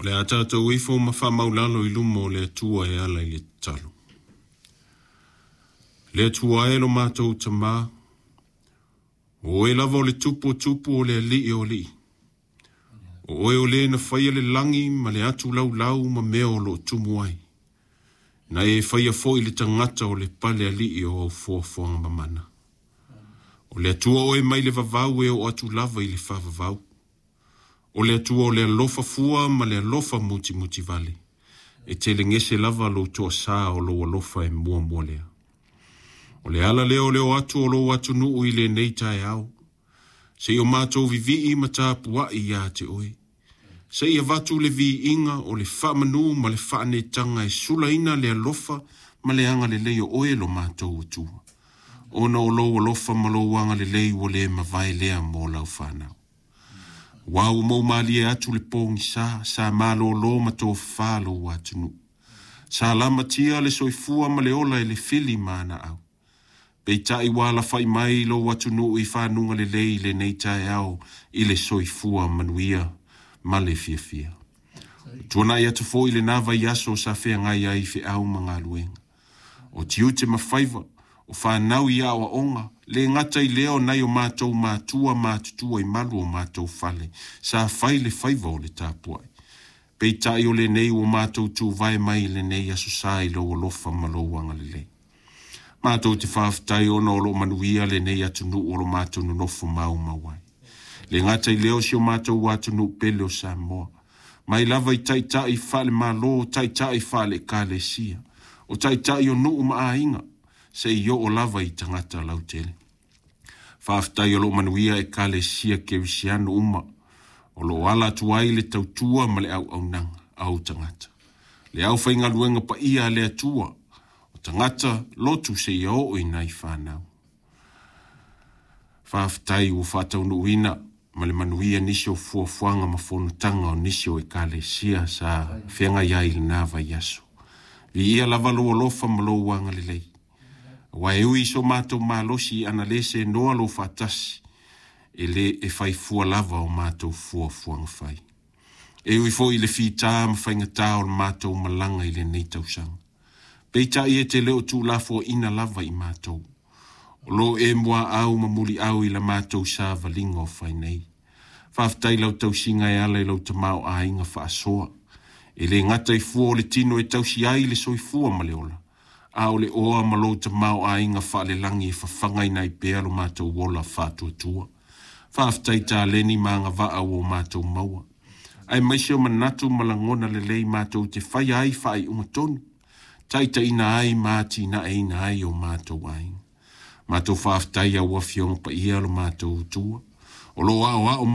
O le a tatou ifo ma faamaulalo i luma o le Atua e ala i le tatalo. Le Atua e lo matou Tamā, o oe lava o le tupu o tupu o le alii o alii. O oe o le na faia le lagi ma le atu laulau ma mea o lo o tumu ai. Na e faia foi le tagata o le pale alii o au foafoaga mamana. O le Atua oe mai le vavau e oo atu lava i le faavavau. O le Atua o le alofa fua ma le alofa mutimutivale. E telegese lava lou toasā o lou alofa e muamua lea. O le ala lea o le o atu o lou atunuu i lenei taeao. Seia o matou vivii ma tapuai ia te oe. Seia avatu le viiga o le faamanu ma le faanetaga e sulaina le alofa ma le agalelei o oe lo matou Atua. Ona o lou alofa ma lou agalelei ua le mavae lea mo lau fanau. Aua ua moumalie atu le pogisa, sa malōlō ma tofafa lou atunuu. Sa lamatia le soifua ma le ola e le fili ma ana au. Peitai ua alafai mai lou atunuu i fanuga lelei i lenei taeao i le soifua manuia ma le fiafia. Ua tuanai atu foi lena vaiaso sa feagai ai feau ma galuega. O tiute ma faiva, o fanau i aoaoga, le gata i lea o nai o matou matua matutua i malu o matou fale, sa fai le faiva o le tapuai. Peitai o lenei ua matou tuvae mai i lenei aso sa i lou alofa ma lou agalelei. Matou te faafetai ona o lo o manuia lenei atunuu o lo matou nonofo maumau ai. Le gata i lea o si o matou atunuu pele o Samoa. Mai lava i taitai faale-Malo, taitai faale-Ekalesia, o taitai o nuu ma aiga, seia oo lava i tagata lautele. Faafetai o lo o manuia Ekalesia Kerisiano uma, o lo o ala atu ai le tautua ma le auaunaga a ou tagata. Le aufaigaluega paia a le Atua, o tagata lotu seia oo i nai fanau. Faafetai ua faataunuuina ma le manuia nisi o fuafuaga ma fonotaga o nisi o Ekalesia sa feagai ai i lena vaiaso. Viia lava lou alofa ma lou agalelei. Aua e ui i so matou malosi ana le senoa lou faatasi, e le e fai fua lava o matou fuafuaga fai. E ui foi i le fitā ma faigatā o le matou malaga i lenei tausaga. Peitai e te le o tuulafoaiina lava i matou. O lo e muaau ma muliau i la matou savaliga o fai nei. Faafetai lau tausiga e ala i lau tamaoaiga faasoa. E le gata i fua o le tino e tausi ai le soifua ma le ola, a o le oa ma lou tamaoaiga faalelagi e fafagaina ai pea lo matou ola faatuatua. Faafetai taleni ma agavaa ua o matou maua. Aemaise o manatu ma lagona lelei matou te faia ai faaiuga tonu, taitaiina ai ma atinaeina ai o matou aiga. Matou faafetai au Afioga Paia lo matou Atua. O lo o aoao